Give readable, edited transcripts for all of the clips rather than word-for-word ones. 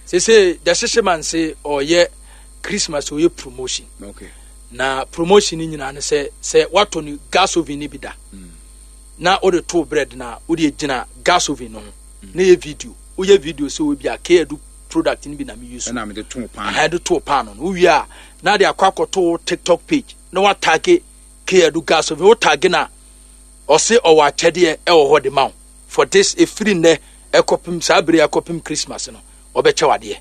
Sese the hyehye man se ɔyɛ Christmas ɔyɛ promotion. Okay. Na promotion ni nyinaa ne sɛ sɛ watɔ no gas oven ni bi da. Na wode to bread na wode gyina gas oven no ho. Na yɛ video. Woyɛ video sɛ obi a K-Edu product ni bi na me use. Ɛna mede to pan. Ɛha de to pan no. Wowie a na de akɔ akɔto TikTok page na watage K-Edu gas oven. Wo tage na ɔse ɔwɔ akyɛdeɛ ɛwɔ hɔ de ma wo. For this ɛfiri nnɛ ɛkɔpem saa bere ɛkɔpem Christmas no ɔbɛkyɛ wadeɛ.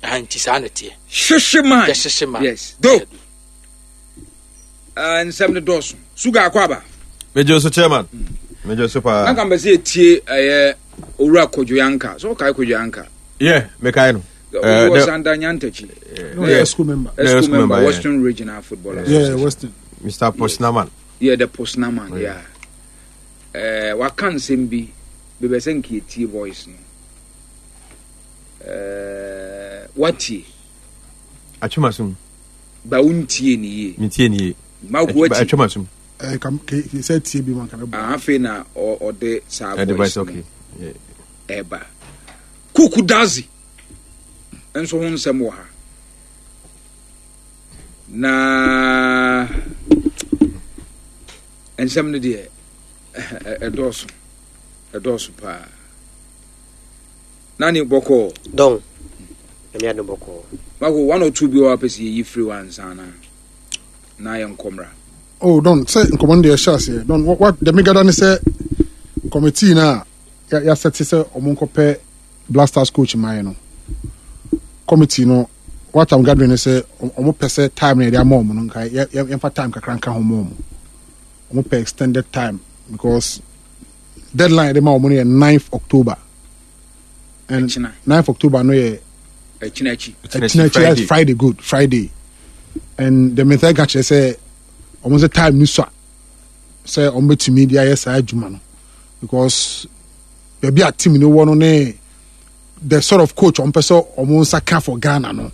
Ɛha nti saa na ɛteɛ. Hyehye man. Yɛhyehye man. Yes. Do. Nsɛm no dɔɔso. Sugar akɔ aba. Megye so chairman. Megye so paa. Nanka mbɛ sɛ yɛtie ɛyɛ owura Kojo Yanka. So wokae Kojo Yanka? Yeah, mekae no. Was under Nyantakyi. No, yeah, school member. Yeah, school member, Western Regional Football Association. Yeah, Western. Mr. Posnaman. Yeah, the Posnaman, yeah. Waka nsɛm bi, bɛbɛ sɛ nka yɛtie voice no. Watie. Atwema sum. Ba wontie ne yie. Mentie ne yie. Ma wo watie. Atwema sum. Sɛ tie bi ma nka bɛbɔ. Afei na ɔde saa voice no ɛba. Kuku Dazi nso ho nsɛm wɔ ha. Na nsɛm no deɛ ɛdɔɔso ɛdɔɔso paa. Nani bɔkɔɔ. Dɔn. Nyame adom bɔkɔɔ. Mako one or two bi wɔ hɔ a pɛ sɛ yɛyi firi hɔ ansa na na yɛ nkɔmmra. Oh Don, sɛ nkɔmmɔ no deɛ ɛhyɛ aseɛ. Don, wa deɛ megada ne sɛ committee no a yɛasɛte sɛ ɔmo nkɔpɛ Black Stars coach mmaeɛ no. Committee no what I'm gathering ne sɛ ɔmo pɛ sɛ time no yɛde ama ɔmo no nka yɛmfa time kakra nka ho ma ɔmo. Ɔmo pɛ extended time because deadline yɛde ma ɔmo no yɛ 9th October. And 9th October no yɛ ɛkyina akyi. Ɛkyina akyi that's Friday good Friday. And the method ka kyerɛ sɛ ɔmo sɛ time ni sua sɛ ɔmo bɛtumi de ayɛ saa adwuma no because baabi a team no wɔ no ne the sort of coach ɔmo pɛ sɛ ɔmo nsa ka for Ghana no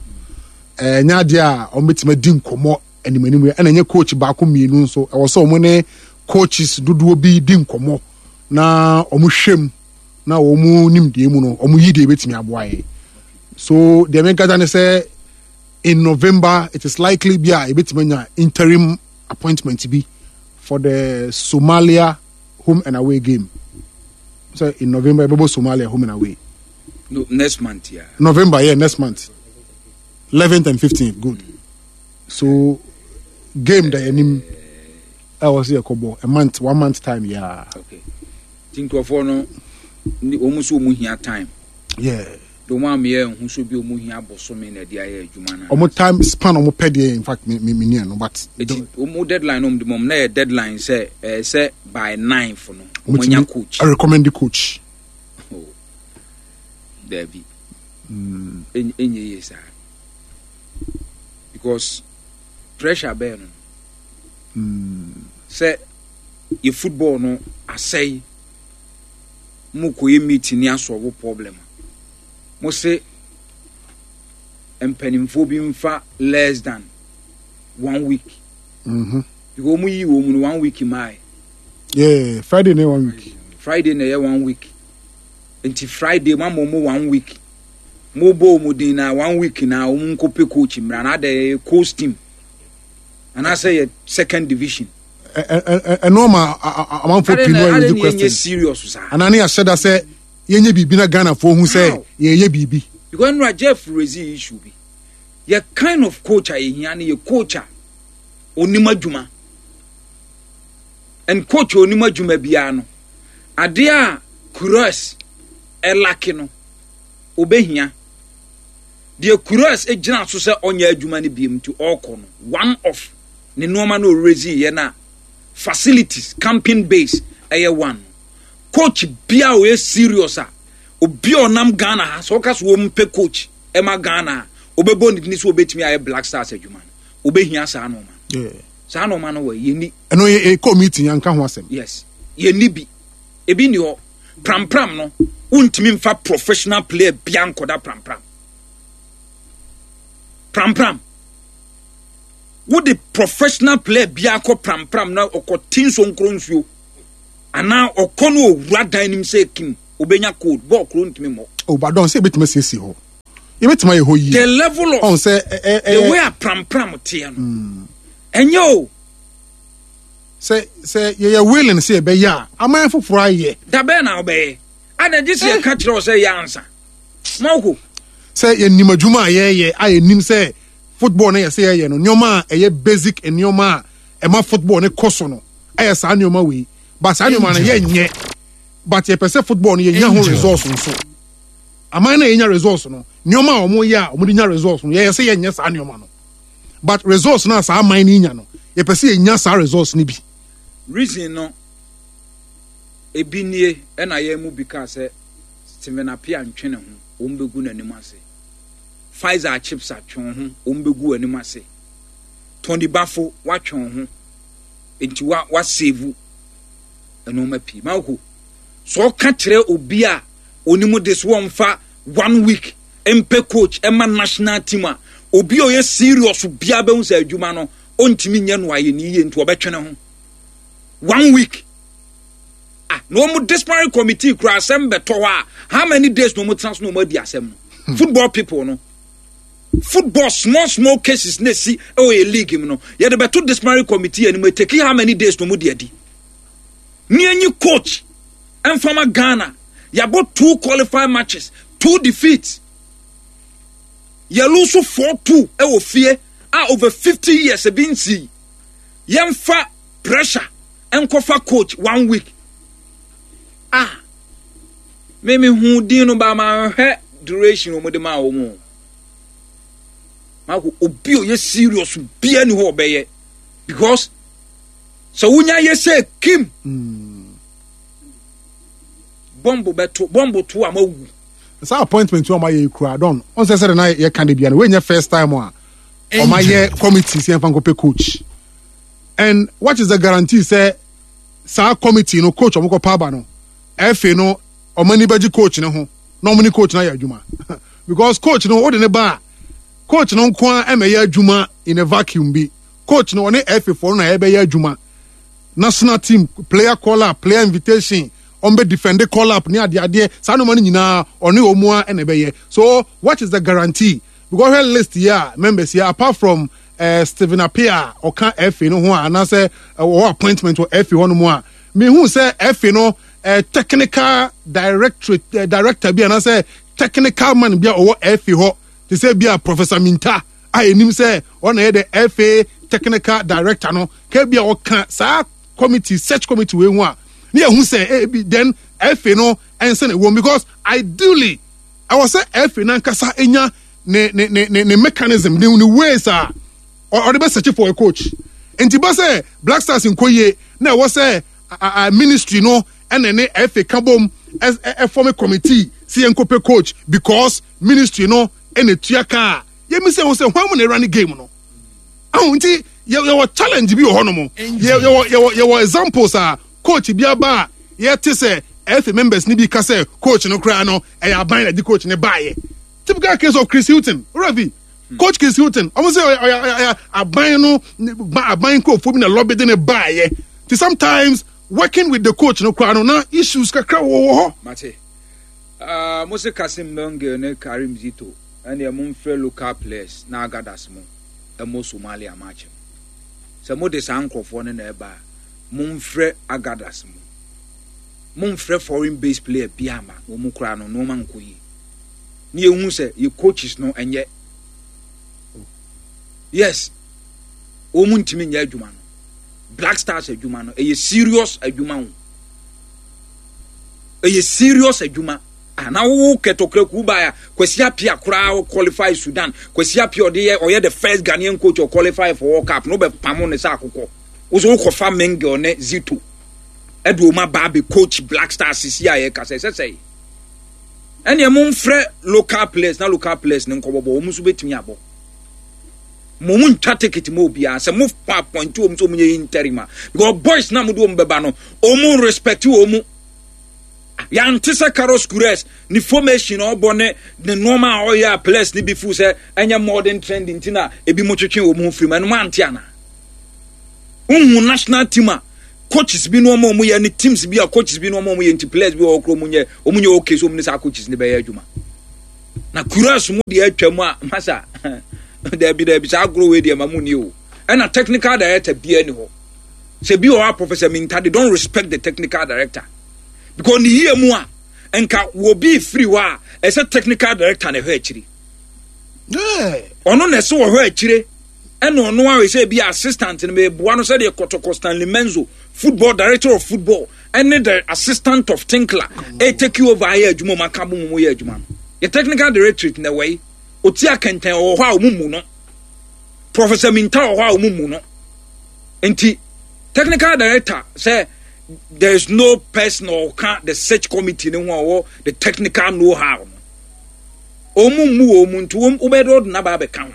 ɛnyɛ adeɛ a ɔmo bɛtumi adi nkɔmɔ anim anim ɛna ɛnyɛ coach baako mmienu nso ɛwɔ sɛ ɔmo ne coaches dodoɔ bi di nkɔmɔ na ɔmo hwɛ mu na wɔn nimdeɛ mu no wɔn yi deɛ ebetumi aboa yɛ so deɛ menkasa ne sɛ in November it is likely bi a ebetumi anya interim appointment bi for the Somalia home and away game so in November ebɛbɔ Somalia home and away. No, next month, yeah. November, yeah, next month. 11th and 15th, good. So game da yɛnim ɛwɔ sɛ yɛkɔbɔ a month, one month time, yeah. Okay. Nti nkurɔfoɔ no wɔn nso wɔn hia time. Yeah. De wɔn ameyɛ nho so bi wɔn hia bosome na ɛde ayɛ adwuma na. Wɔn time span wɔn pɛ deɛ in fact me me me nia no but. Eti wɔn deadline wɔn de mɔm na yɛ deadline sɛ ɛɛ sɛ by 9th no wɔn anya coach. I recommend the coach. Oh. Dabi. Enye yie saa. Because pressure bɛɛ no. Sɛ yɛ football no asɛe mo kɔyɛ meeting ni asɔlvo problem a mo se mpanimfoɔ bi mfa less than one week because wɔn yi wɔn mu no one week maae. Yeah, Friday na one week. Friday na ɛyɛ one week nti Friday mo ama wɔn one week mo bɔ wɔn din na one week na wɔn nkɔ pɛ coach mmira na adɛ yɛ coach team anaasɛ yɛ second division. Ɛno ma amanfoɔ pii no ɛredi question serious saa anaa ne yɛahyɛ da sɛ yɛnyɛ biribi na Ghanafoɔ hu sɛ yɛyɛ biribi. Because nnura Jeff raise issue bi yɛ kind of coach a yɛhia no yɛ coach a onim adwuma and coach a onim adwuma biara no adeɛ a Kuros ɛlake no obehia deɛ Kuros gyina so sɛ ɔnyɛ adwuma no biem nti ɔrekɔ no one of ne nneɛma no ɔrezi yɛ na facilities camping base ɛyɛ one coach bia ɔyɛ serious a obi a ɔnam Ghana ha sɛ ɔka so wɔn mpɛ coach ɛma Ghana a ɔbɛbɔ ne dini so ɔbɛtumi ayɛ Black Stars adwuma no ɔbɛhia saa nneɛma no saa nneɛma no wɔ yɛni. Ɛno yɛ kɔ meeting yɛn nka ho asɛm. Yes yɛni bi ebi ni hɔ prampram no wontumi nfa professional player bia nkɔda prampram prampram. Wode professional player biara kɔ prampram na ɔkɔ ti nsonkoro nsuo anaa ɔkɔ no owura dan nim sɛ kim obenya cold bɔɔl koro ntumi mmɔ. O ba dɔn sɛ ebetumi asiesie hɔ. Yɛbɛtumi ayɛ hɔ yie. The level of ɔn sɛ ɛ ɛ the way a prampram teɛ no ɛnyɛ o. Sɛ sɛ yɛyɛ willing sɛ yɛbɛyɛ a, aman foforɔ ayɛ. Dabɛn na wobɛyɛ? Ada gye sɛ yɛka kyerɛ wo sɛ yɛ ansa. Mawko. Sɛ yɛnim adwuma a yɛyɛ a yɛnim sɛ football no yɛ sɛ yɛyɛ no nneɛma a ɛyɛ basic nneɛma a ɛma football no kɔ so no ɛyɛ saa nneɛma wei but saa nneɛma no yɛnyɛ but yɛpɛ sɛ football no yɛnya ho results nso aman no a yɛnya results no nneɛma a wɔyɛ a wɔde nya results no yɛyɛ sɛ yɛnyɛ saa nneɛma no but results no a saa aman no nya no yɛpɛ sɛ yɛnya saa results no bi. Reason no ebi nie ɛna yɛn mu bi kaa sɛ Stephen Appiah ntwe ne ho wɔn bɛgu n'anim ase. Faisal Chipsa twe wo ho wɔn bɛgu w'anim ase. Tony Bafo watwe wo ho nti wa wa save nneɛma pii. Mawko sɛ ɔka kyerɛ obi a onim de so wɔmfa one week mpɛ coach ɛma national team a obi a ɔyɛ serious biara bɛhu sɛ adwuma no ɔntumi nyɛ no ayɛ ne yie nti ɔbɛtwe ne ho one week. Ah, na wɔn disciplinary committee kura asɛm bɛtɔ hɔ a, how many days na wɔn tena so na wɔn adi asɛm no? Hmm. Football people no, football small small cases na esi ɛwɔ yɛ league mu no, yɛde bɛto disciplinary committee anim eteki how many days na wɔn di adi? Ne enyi coach ɛnfama Ghana, yɛabɔ two qualified matches, two defeats, yɛ lose 4-2 ɛwɔ fie a over 50 years ebi nsi, yɛnfa pressure. Nkɔfa coach one week ah me me hu din no ba ma nhwɛ duration wɔn de maa wɔn o mako obi oyɛ serious bia ni hɔ ɔbɛyɛ because sɛ wonya yɛ sɛ kim bɔmbo bɛto bɔmbo to a ma wu. Saa appointment wɔn ayɛ ekura dɔn ɔn sɛ sɛ de na yɛ kan de bia no wɔnyɛ first time a wɔn ayɛ committee sɛ yɛn fa nkɔpɛ coach. And what is the guarantee sɛ saa committee no coach ɔmo kɔ paaba no ɛfɛ no ɔmo ani bɛgye coach no ho na ɔmo ne coach no ayɛ adwuma because coach no wode ne ba a coach no nko ara ɛmɛyɛ adwuma in a vacuum bi coach no ɔne ɛfɛ foɔ no na ɛbɛyɛ adwuma national team player call up player invitation ɔmo bɛ defend call up ne adeadeɛ saa nneɛma no nyinaa ɔne ɔmo a ɛna ɛbɛyɛ so what is the guarantee because hwɛ list yi a members yi apart from eh, Stephen Appiah a ɔka FA no ho a anaasɛ ɔwɔ appointment wɔ FA hɔnom a mehu sɛ FA no eh, technical directorate eh, director bi anaasɛ technical man bi a ɔwɔ FA hɔ te sɛ bi a Professor Minta a ɛnim sɛ ɔna yɛ the FA technical director no ka bi a ɔka saa committee search committee wei ho a ne yɛhu sɛ eh, bi then FA no ɛnsɛ na ɛwɔ because ideally ɛwɔ sɛ FA nankasa nya ne ne ne ne ne mechanism ne ne ways a ɔde bɛ search for a coach nti ba sɛ Black Stars nkɔ yie na ɛwɔ sɛ a ministry no ɛna ne FA ka bom ɛfɔm committee sɛ yɛn kɔpɛ coach because ministry no ɛna etua kaa yɛmi sɛ ho sɛ hwan mu na ɛra ne game no ahu nti yɛwɔ challenge bi wɔ hɔ nom yɛwɔ yɛwɔ yɛwɔ examples a coach bi aba a yɛte sɛ FA members ni bi ka sɛ coach no koraa no ɛyɛ aban na ɛde coach no baayɛ typical case of Chris Hughton ravi hmm. coach Chris Hughton ɔmo sɛ ɔyɛ ɔyɛ aban no aban nkurɔfoɔ bi na lobby de ne baayɛ ti sometimes working with the coach no koraa no na issues kakra wɔ wɔ hɔ. Mate. Uh, mo se Kasim Mengel ne Karim Zito ɛne mo mfrɛ local players na agadas mo ɛmɔ Somalia match no. Sɛ mo de saa nkurɔfoɔ no na ɛba a, momfrɛ agadas mo. Momfrɛ foreign based player biara ma wɔn koraa no nneɛma nkɔ yie. Ne yɛhu sɛ yɛ coaches no ɛnyɛ. Yes, wɔn ntumi nyɛ adwuma no. Black Stars adwuma no ɛyɛ serious adwuma o. Ɛyɛ serious adwuma. Ah, na wo kɛtɔkura ku ba ya Kwasi Appiah koraa qualify Sudan. Kwasi Appiah ɔde yɛ ɔyɛ the first Ghanaian coach or qualify for World Cup. No bɛ pamo ne sɛ akokɔ. Wo so wokɔfa Mengel ne Zito ɛde wɔn aba abɛ coach Black Stars sisi a yɛka sɛ ɛsɛ sɛ ɛnneɛ momfrɛ local players na local players ne nkɔbɔbɔ wɔn nso bɛtumi abɔ mo mo ntwa ticket mo obiara sɛ mo fa appoint wɔn sɛ wɔn yɛ interim a because boys na mo de wɔn bɛba no wɔn respect wɔn yɛante sɛ Carlos Queiroz ne formation a ɔbɔ ne ne nneɛma a ɔyɛ a players ne bi fu sɛ ɛnyɛ modern trend nti na ebi mo twetwe wɔn ho firi mu ɛno mo ante ana Wohu national team a coaches bi nneɛma a wɔyɛ ne teams bi a coaches bi nneɛma a wɔyɛ nti players bi wɔ hɔ koraa wɔn nyɛ wɔn nyɛ okay so wɔn ne saa coaches ne bɛyɛ adwuma. Na Kuras mu deɛ atwa mu a masa daabi daabi saa agorɔ wei deɛ ma mu ni o. Ɛna technical director biara ni hɔ. Sɛ bi wɔ hɔ a Professor Minta they don't respect the technical director because ne yie mu a nka wɔ bi firi hɔ a ɛsɛ technical director na ɛhwɛ akyiri. Ɔno na ɛsɛ wɔhwɛ akyire ɛna ɔno a ɛsɛ bi assistant no meboa no sɛdeɛ Kɔtɔkɔ Stanley Menzo football director of football ɛne the assistant of Tinkler ɛ take over ayɛ adwuma mu aka bɔ mu yɛ adwuma no. Yɛ technical directorate na ɛwɔ yi ɔti akɛntɛn ɔwɔ hɔ a ɔmu mu no. Professor Minta wɔ hɔ a wɔn mu no nti technical director sɛ there is no person ɔka the search committee ne ho a ɔwɔ the technical know how no wɔn mu wɔn mu nti wɔn wobɛyɛ dɛ ɔde n'aba abɛka ho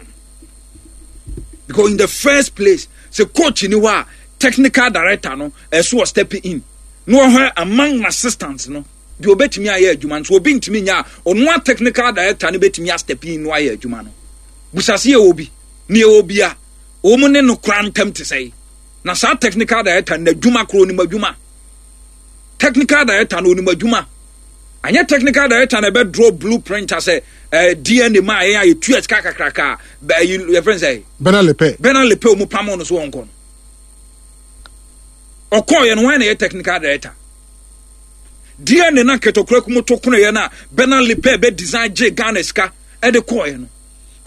because in the first place sɛ coach ni hɔ a technical director no ɛso wɔ step in na ɔhwɛ among assistants no deɛ ɔbɛtumi ayɛ adwuma nso obi ntumi nyɛ a ɔno a technical director no bɛtumi astep in no ayɛ adwuma no busase yɛ obi ne yɛ obi a wɔn ne no kora ntam te sɛ na saa technical director no adwuma koro onim adwuma technical director no onim adwuma anyɛ technical director na ɛbɛ draw blueprint asɛ ɛɛ eh, dna ma yɛn a yɛtua sika kakraka bɛyi yɛfrɛ sɛ Bernard Lepe Bernard Lepe wɔn pam no so wɔn kɔ no ɔkɔɔ yɛn no wɔn na yɛ technical director Deɛ ne na nkɛtɔkora kum to konoeɛ no a Bernard Lepɛ bɛ design gye Ghana sika ɛde kɔɔeɛ no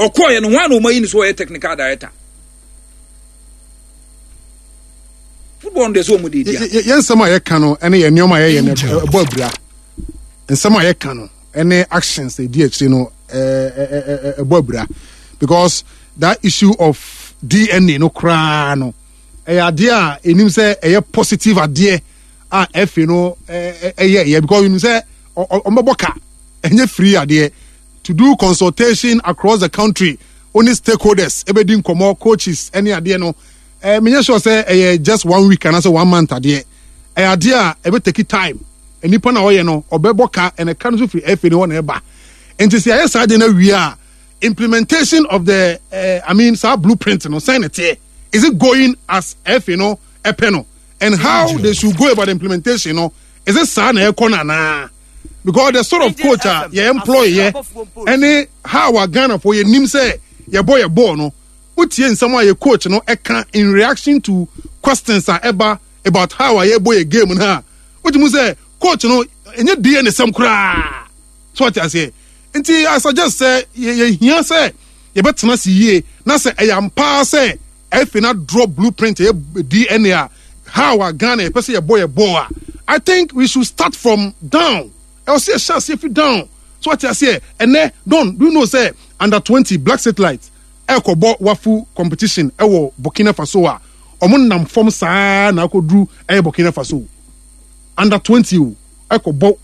ɔkɔɔeɛ no hwan na ɔma yi ne so ɔyɛ technical director football no deɛ sɛ ɔmu de di a yɛn nsɛm a yɛka no ɛne yɛn nneɛma a yɛyɛ no ɛbɔ abira nsɛm a yɛka no ɛne actions a ɛdi akyire no ɛbɔ abira because that issue of DNA no koraa no ɛyɛ adeɛ a ɛnim sɛ ɛyɛ positive adeɛ a ɛfe no ɛyɛ ɛyɛ because you sɛ ɔmbɛbɔ ka ɛnyɛ free adeɛ to do consultation across the country only stakeholders ɛbɛdi nkɔmɔ coaches ɛne adeɛ no ɛɛ menyɛ sure sɛ ɛyɛ just one week anaasɛ one month adeɛ ɛyɛ adeɛ a ɛbɛ take time nipa na ɔyɛ no ɔbɛbɔ ka ɛna ka no nso firi ɛfe no hɔ na ɛba nti sɛ yɛayɛ saa adeɛ no awie a implementation of the uh, I mean saa blueprint no sɛn na ɛteɛ is it going as ɛfe no ɛpɛ no and how they should go about the implementation no is it saa na ɛkɔ no anaa because the sort of coach a yɛ employ yɛ ɛne how a Ghana fo yɛ nim sɛ yɛbɔ yɛ bɔɔl no wotie nsɛm a yɛ coach no ɛka in reaction to questions a ɛba about how a yɛbɔ yɛ game no a wotumi sɛ coach no ɛnyɛ DNA sɛm koraa so ɔte aseɛ nti I suggest sɛ yɛhia sɛ yɛbɛtena se yie na sɛ ɛyɛ ampaa sɛ Afei na draw blueprint ɛyɛ DNA a how a Ghana yɛpɛ sɛ yɛbɔ yɛ bɔɔl a I think we should start from down ɛwɔ sɛ yɛhyɛ aseɛ fi down so wate aseɛ ɛnɛ don do you know sɛ under 20 Black Satellite ɛkɔbɔ wafu competition ɛwɔ Burkina Faso a ɔmo nam fam saa na akɔduru ɛyɛ Burkina Faso under 20 o ɛkɔbɔ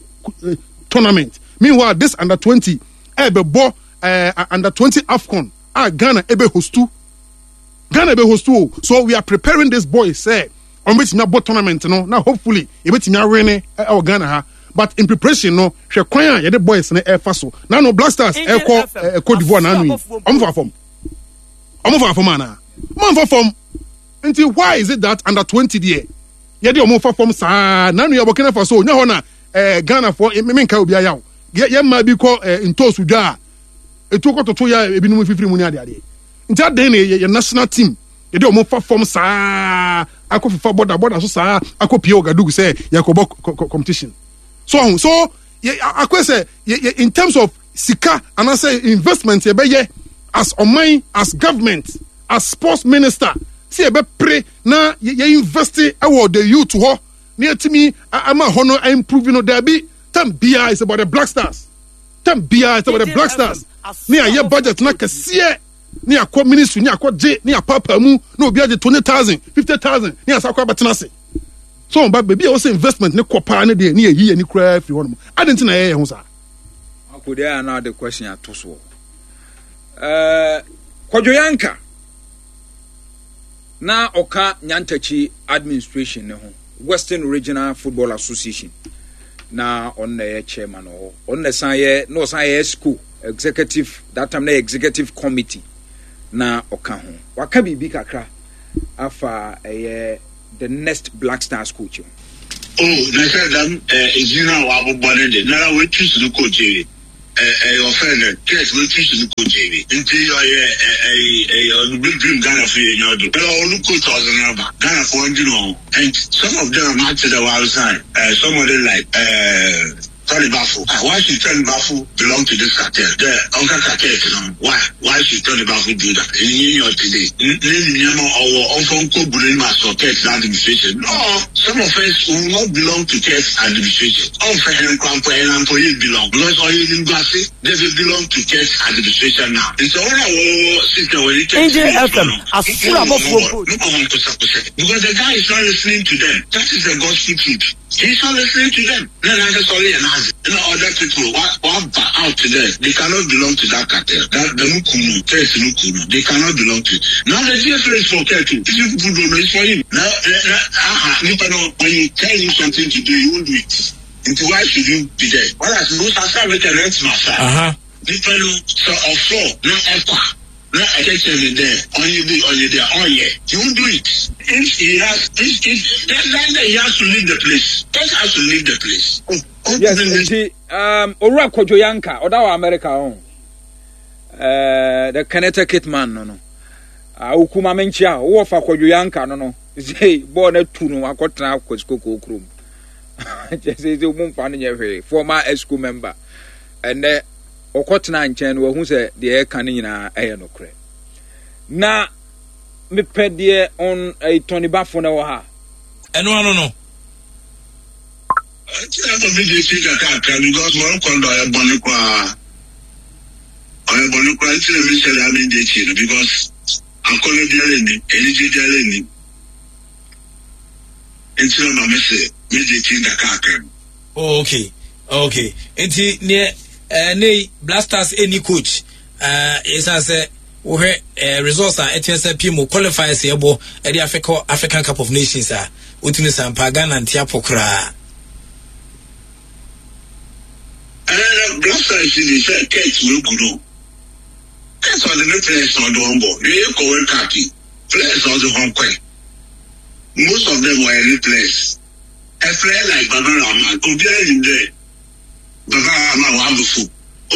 eh, tournament meanwhile this under 20 ɛbɛbɔ eh, under 20 AFCON a Ghana ɛbɛ hostu Ghana bɛ host o so we are preparing this boy sɛ wɔn bɛtumi abɔ tournament no na hopefully yɛbɛtumi awene ɛwɔ Ghana ha but in preparation no hwɛ kwan a yɛde boys no ɛfa so na no Black Stars ɛkɔ ɛ Cote d'Ivoire n'ano yi wɔn fa fam wɔn fa fam anaa wɔn fa fam nti why is it that under 20 deɛ yɛde wɔn fa fam saa n'ano yɛ Burkina Faso nyɛ hɔ na ɛɛ Ghana foɔ menka obi ayaw yɛ yɛ mmaa bi kɔ ɛɛ ntoosu dwa a etuo kɔtoto yɛ ebinom fifiri mu ne adeadeɛ nti adan na yɛ national team yɛde wɔn fa fam saa akɔ fifa bɔda bɔda so saa akɔ pie Ouagadougou sɛ yɛkɔbɔ competition so ɔho so yɛ akɔ sɛ yɛ yɛ in terms of sika anaasɛ investment yɛbɛyɛ as ɔman as government as sports minister sɛ yɛbɛpere na yɛ invest ɛwɔ the youth hɔ na yɛtumi ama hɔ no improve no daabi tam biara is about the black stars tam biara sɛ wɔde black stars ne ayɛ budget na kɛseɛ ne akɔ ministry ne akɔ gye ne apaapaa mu na obi agye 20,000 50,000 ne asa akɔ abɛtena ase so wɔn ba baabi a wɔsɛ investment ne kɔ paa ne deɛ ne yɛyi yɛn ani koraa firi hɔnom adi nti na yɛyɛ ho saa. Akode a na ɔde question ato soɔ. Ɛɛ Kwadwo Yanka na ɔka Nyantakyi administration ne ho Western Regional Football Association na ɔno na ɛyɛ chairman wɔ hɔ ɔno na ɛsan yɛ na ɔsan yɛ exco executive that time na yɛ executive committee na ɔka ho waka biribi kakra afa ɛyɛ the next Black Stars coach ho. Oh, na sɛ dɛm eh, dzin a wɔabobɔ no de, noara woetu so no coach ewie. Ɛyɛ ɔfɛ nɛ Kurt wetu si no coach ebi nti ɔyɛ ɛyɛ ɔno big dream Ghana fo yɛ nya ɔdo ɛyɛ ɔno coach ɔdze no aba Ghana fo ɔndwen ɔho and some of them ate dɛ wa resign ɛɛ somebody like ɛɛ Tony Bafo ah why should Tony Bafo belong to this cartel dɛ ɔnka cartel no why why should Tony Bafo do that ɛnyɛ nyɛ ɔte dɛ ne nneɛma ɔwɔ ɔnfa nkɔ gu n'anim asɔ Kurt n'administration no some of us will not belong to Kurt administration. Ɔmmfa hɛn koraa mpo, hɛn mpo yɛ belong because ɔyɛ enyimguase dɛ they belong to church administration now. Ntsi hɔn a wɔwɔ system wɔnye church Angel no yɛ FM, edwuma no, asor mo abɔfoɔ mpo. mobɔ hɔn kosɛkosɛ because the guy is not listening to them. That is the gospel truth. He is not listening to them. Na nankasa ɔreyɛ n'adze na other people wa wɔaba out dɛ they cannot belong to that cartel. That dɛm kuw no, church no kuw no, they cannot belong to it. Now the GFA is for Kurt o. If you people don't know, it's for him. Na na aha nipa no when you tell him something to do he won't do it nti why should you be there whereas mo sasa mekɛ no ɛntena sa nipa no sɛ ɔfrɔ na ɔkɔ a na ɛkɛkyɛ ne dɛ ɔnyɛ bi ɔnyɛ bi a ɔnyɛ he won't do it if he has if if then then he has to leave the place just has to leave the place. Oh, yes nti um, owura Kojo Yanka ɔda wɔ America ho uh, the Connecticut man no no awoku ma menkyia wowɔ fa Kojo Yanka no no Sei bɔɔl no atu no akɔtena Kwasikokoo kurom. Kyɛ sɛ sɛ ɔmu mfa no nyɛ hwee. Former ESCO member. Ɛnɛ ɔkɔtena nkyɛn no wahu sɛ deɛ ɛka no nyinaa ɛyɛ nokorɛ. Na mepɛ deɛ ɔn ɛyi tɔnibafo no wɔ ha. Ɛno ano no. Nti na ma me gye si kakrakra because wɔrekɔ no ɔyɛ bɔne koraa. Ɔyɛ bɔne koraa nti na mehyɛ da me gye akyi no because Akɔnnɔ biara nnim, anigye biara nnim. Nti na ma mese megye ti nkakrankra no. Oh, okay, okay. Nti neɛ ɛɛ ne yi Blasters ɛni coach ɛɛ esan sɛ wohwɛ ɛɛ results a ɛtumi sɛ pii mu qualifiers ɛbɔ ɛde Africa African Cup of Nations a wotumi sampa Ghana nti apɔ koraa. Ɛɛ Blasters de sɛ Kurt wegu no. Kurt ɔdze ne players na ɔdze hɔn bɔ hwɛ yɛkɔ world cup yi players a ɔdze hɔn kɔe most of them wɔyɛ ne players a player like Baba Rahman obiara nyim dɛ Baba Rahman ɔabɔ fo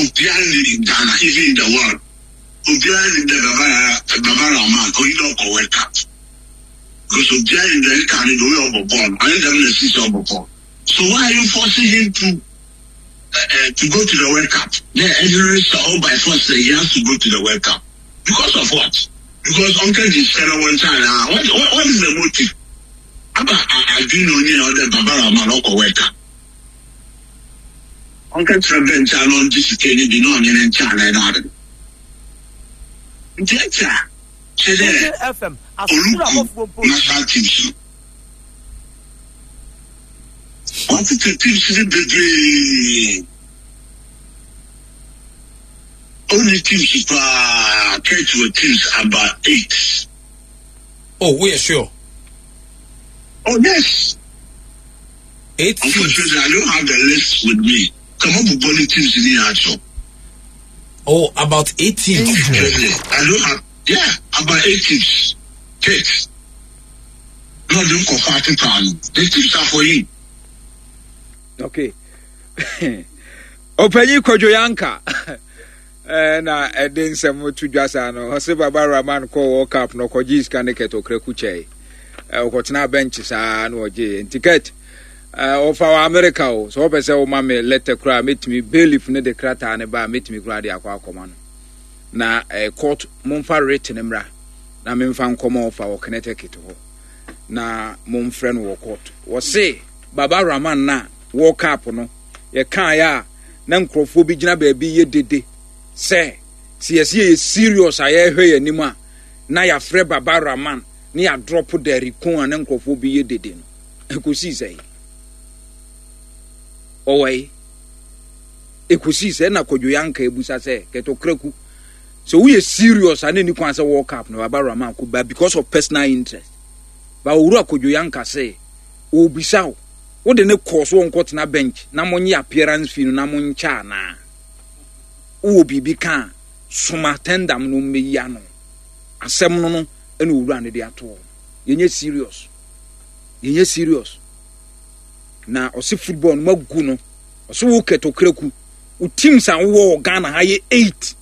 obiara nyim in Ghana even in the world obiara nyim dɛ Baba Baba Rahman oyi dɛ ɔkɔ world cup because obiara nyim dɛ nka ne de oyɛ ɔbɔ bɔɔl ɔnye dɛm na sisi ɔbɔ bɔɔl so why are you forcing him to uh, to go to the World Cup. The engineering all by force say he has to go to the World Cup. Because of what? Because Uncle Gisela one time, uh, what, what, what is the motive? Aba adwene onye na ɔdɛ Baba Rahman ɔkɔ World Cup. Uncle kyerɛ bench a na ɔngye sika ni bi na ɔnye ne nkyɛn anan na ade. Nti ɛkyɛ a kyerɛ dɛ oluku national teams no. Wɔatete teams no bebree. Only teams paa Kurt wɔ teams about eight. Oh, woyɛ sure? Oh yes. Eight teams. Unfortunately, I don't have the list with me. Come on, bobɔ ne teams ni akyɛw. Oh, about eight teams. Unfortunately, I don't have. Yeah, about eight teams. Kurt. Na ɔde nkɔfo atete ano. The tips are for you. Okay. Ɔpanyin Kwadwo Yanka eh, na ɛde nsɛm to dwa saa no ɔse Baba Rahman kɔɔ World Cup no ɔkɔgye sika ne kɛtɛ ɔkraku kyɛe eh, ɔkɔtena bɛnkye saa na ɔgye nti kɛt eh, ɔfa wɔ Amerika o sɛ wɔpɛ sɛ woma me lɛtɛ koraa mɛtumi bailiff no de krataa no ba a mɛtumi koraa de akɔ akɔma no na court momfa writ no mmra na memfa nkɔma ɔfa wɔ Connecticut hɔ na momfrɛ no wɔ court. Wɔse Baba Rahman na World Cup no yɛkaeɛ a na nkurɔfoɔ bi gyina baabi yɛ dede sɛ sɛ yɛse yɛyɛ serious a yɛrehwɛ yɛn anim a na yɛafrɛ Baba Rahman ne yɛadrɔpo Derrick Cohn a na nkurɔfoɔ bi yɛ dede no. Ɛkɔsii sɛ ɔwɔ yi ɛkɔsii sɛ na Kwadwo Yanka abusa sɛ Kɛtɔ Kraku Sɛ woyɛ serious a na ɛni kwan sɛ World Cup no Baba Rahman kɔ ba because of personal interest. Ba Owura Kojo Yanka se ɔrebisa wo, wode no kɔɔ so ɔnkɔtena bench na monye appearance fee no na monkyɛ anaa? Wowɔ biribi ka a, soma tendam no mmɛyi ano. Asɛm no no ɛna owura no de ato hɔ. Yɛnyɛ serious. Yɛnyɛ serious. Na ɔse football no magu no. Ɔse wo Kurt Okraku. Wo teams a wowɔ wɔ Ghana ha yɛ 8.